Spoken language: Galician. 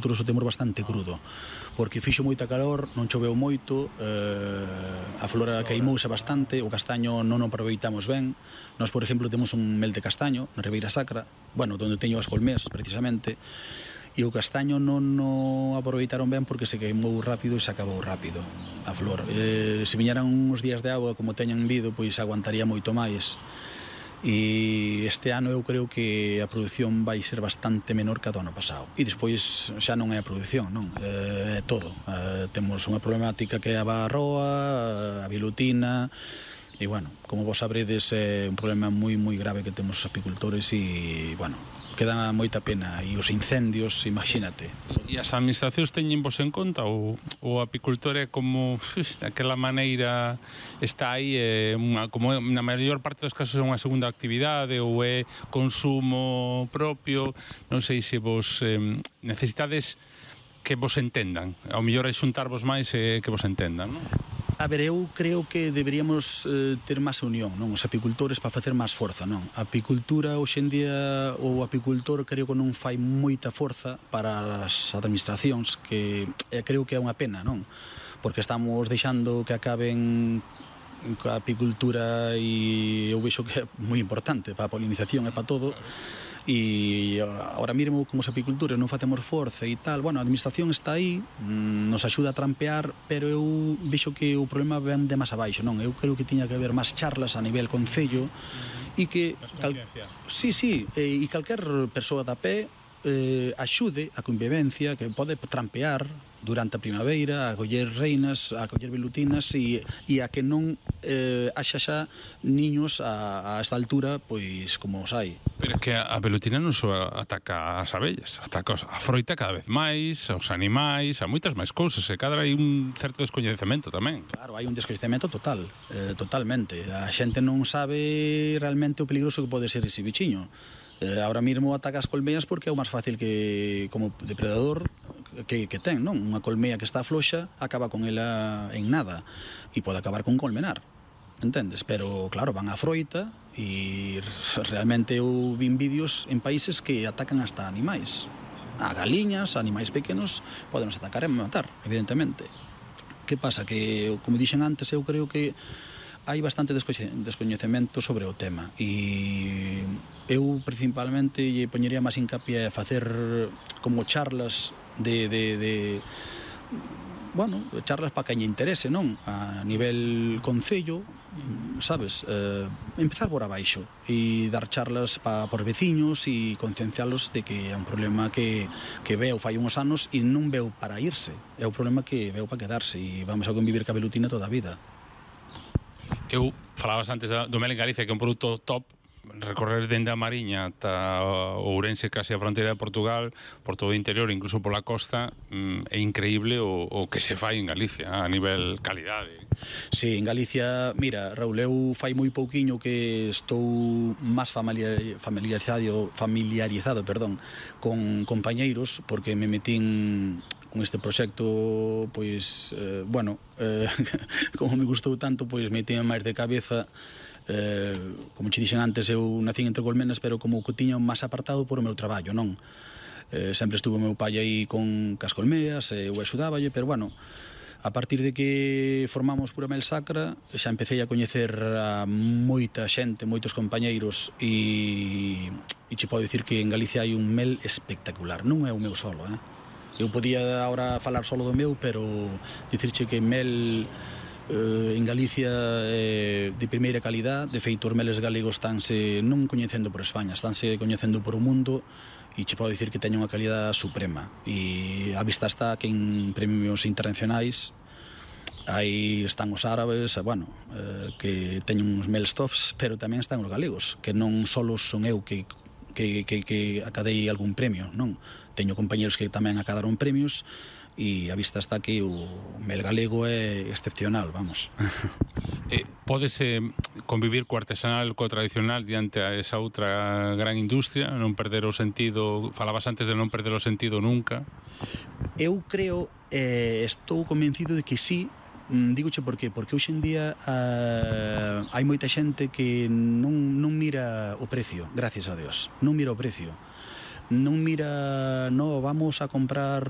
apicultura o temos bastante crudo, porque fixo moita calor, non choveu moito, a flora queimouse bastante, o castaño non o aproveitamos ben. Nós, por exemplo, temos un mel de castaño na Ribeira Sacra, bueno, onde teño as colmés, precisamente, e o castaño non o aproveitaron ben porque se queimou rápido e se acabou rápido a flor. Se viñeran uns días de agua como teñan vido, pois aguantaría moito máis. E este ano eu creo que a produción vai ser bastante menor que a do ano pasado. E despois xa non é a produción, non? É todo. Temos unha problemática que é a barroa, a vilutina, e, bueno, como vos sabredes, é un problema moi grave que temos os apicultores e, bueno, queda moita pena. E os incendios, imagínate. E as administracións teñen vos en conta ou o apicultor é como daquela maneira está aí, como na maior parte dos casos é unha segunda actividade ou é consumo propio? Non sei se vos necesitades que vos entendan, ao mellor é xuntarvos máis e que vos entendan, non? A ver, eu creo que deberíamos ter máis unión, non? Os apicultores para facer máis forza, non? A apicultura, hoxe en día, o apicultor creo que non fai moita forza para as administracións, que creo que é unha pena, non? Porque estamos deixando que acaben a apicultura e eu vexo que é moi importante para a polinización e para todo. E ahora mesmo como os apicultores non facemos forza e tal, bueno, a administración está aí, nos axuda a trampear, pero eu vexo que o problema ven de máis abaixo, non? Eu creo que tiña que haber máis charlas a nivel concello e que e calquer persoa da pé axude a convivencia, que pode trampear durante a primavera, a coller reinas, a coller velutinas e a que non haxa xa niños a esta altura, pois como os hai. Pero é que a velutina non só ataca as abellas, ataca a froita cada vez máis, aos animais, a moitas máis cousas, e cada hai un certo descoñecemento tamén. Claro, hai un descoñecemento total, totalmente. A xente non sabe realmente o peligroso que pode ser ese bichiño. Ahora mesmo ataca as colmeas porque é o máis fácil que como depredador que ten, non? Unha colmea que está floxa acaba con ela en nada e pode acabar con colmenar, entendes? Pero claro, van á froita e realmente eu vin vídeos en países que atacan hasta animais, a galiñas, a animais pequenos, podenos atacar e matar, evidentemente. Que pasa? Que, como dixen antes, eu creo que hai bastante descoñecemento sobre o tema e eu principalmente lle poñería máis hincapié a facer como charlas bueno, charlas para que lle interese, non? A nivel concello, sabes? Empezar por abaixo e dar charlas por veciños e conciencialos de que é un problema que veo fai uns anos e non veo para irse, é un problema que veo para quedarse e vamos a convivir ca velutina toda a vida. Eu falabas antes do mel en Galicia, que é un produto top, recorrer dende a Mariña ata Ourense, case a fronteira de Portugal, por todo o interior, incluso pola costa, é increíble o que se fai en Galicia a nivel calidade. Sí, en Galicia, mira, Raúl, eu fai moi pouquiño que estou máis familiarizado, con compañeiros, porque me metín con este proxecto, pois, bueno, como me gustou tanto, pois metín máis de cabeza. Como che dixen antes, eu nacín entre colmenas, pero como que tiño máis apartado por o meu traballo, non? Sempre estuvo o meu pai aí con as colmeas, eu axudáballe, pero bueno, a partir de que formamos Pura Mel Sacra, xa empecé a coñecer a moita xente, moitos compañeiros, e che podo dicir que en Galicia hai un mel espectacular, non é o meu solo, Eu podía agora falar solo do meu, pero dicirche que mel en Galicia de primeira calidad. De feito, os meles galegos estánse non coñecendo por España, estánse coñecendo por o mundo, e che podo dicir que teñen unha calidad suprema, e a vista está que en premios internacionais aí están os árabes, bueno, que teñen uns meles tops, pero tamén están os galegos, que non só son eu que acadei algún premio, non? Teño compañeros que tamén acadaron premios, e a vista está que o mel galego é excepcional, vamos. Pódese convivir co artesanal, co tradicional diante a esa outra gran industria, non perder o sentido? Falabas antes de non perder o sentido nunca. Eu creo, estou convencido de que sí. Dígoche por qué? Porque hoxe en día hai moita xente que non mira o precio, gracias a Dios, non mira o precio, non mira, no, vamos a comprar